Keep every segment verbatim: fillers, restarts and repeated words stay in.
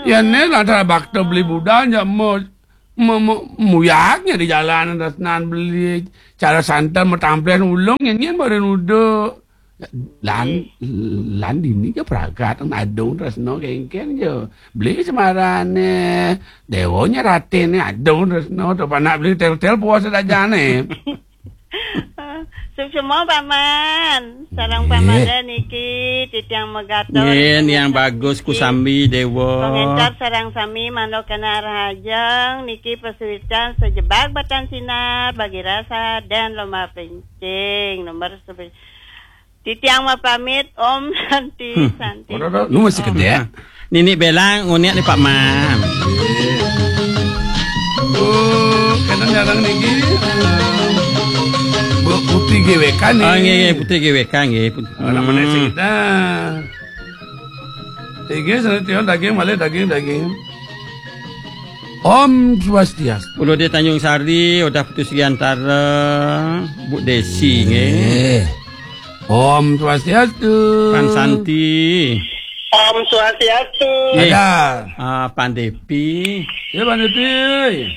Ya, né lantaran bakta beli budal, ya, mau, mau, mau, muyaknya di jalan, tresnan beli cara santan, mau tampil ulung, nyén-nyén baru nuduh. Lan, lan dini ke pragat, adung tresna kéngkén ya. Beli semarané, déwanya ratiné, adung tresna, to panak beli tel-tel puasa dajané. Suksma, Paman. Sareng Nggih. Paman niki titiang megatur. Nggih, Niang Bagus Kusambi Déwa. Pangencar sareng sami mantuk kena rahajeng niki pasuican sajebag batan sinar bagi rasa dan lomba plincing. Nomor sepi-, titiang mapamit, Om Santi, Hmm. Santi. Waduh, waduh, lu masih Om. Gedé. Nini Belang, unik nih, Pak Man. Oh, kena nyarang niki. Bu Putri G W K nih. Oh, nggih, nggih, Putri G W K, nggih. Put-, Orang mana Hmm. sih kita? Tiga, sana tiga, daging, malih daging, daging. Om Swastiastu. Kula di Tanjung Sari, udah putus Giantara, Bu Desi, nggih. Nggih. Om Swastiastu. Pan Santi. Om Swastiastu. Nggih. Ada. Ah, Pan Depi. Ya, Pan Depi.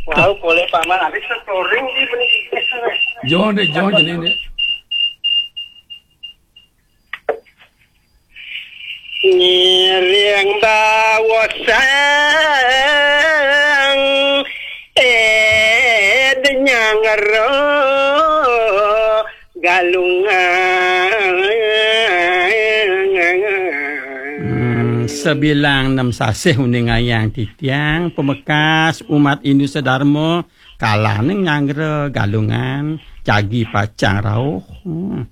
Wow, boleh, Paman. Habis storing di pendidikan. Jangan deh, jangan jadi deh. Ngiring bawasang, eh, denyang ro galungan. Hmm, sabilang nem sasih uningayang titiang, pamekas umat Hindu sadharma, kalaning nyanggra galungan, jagi pacang rauh. Hmm.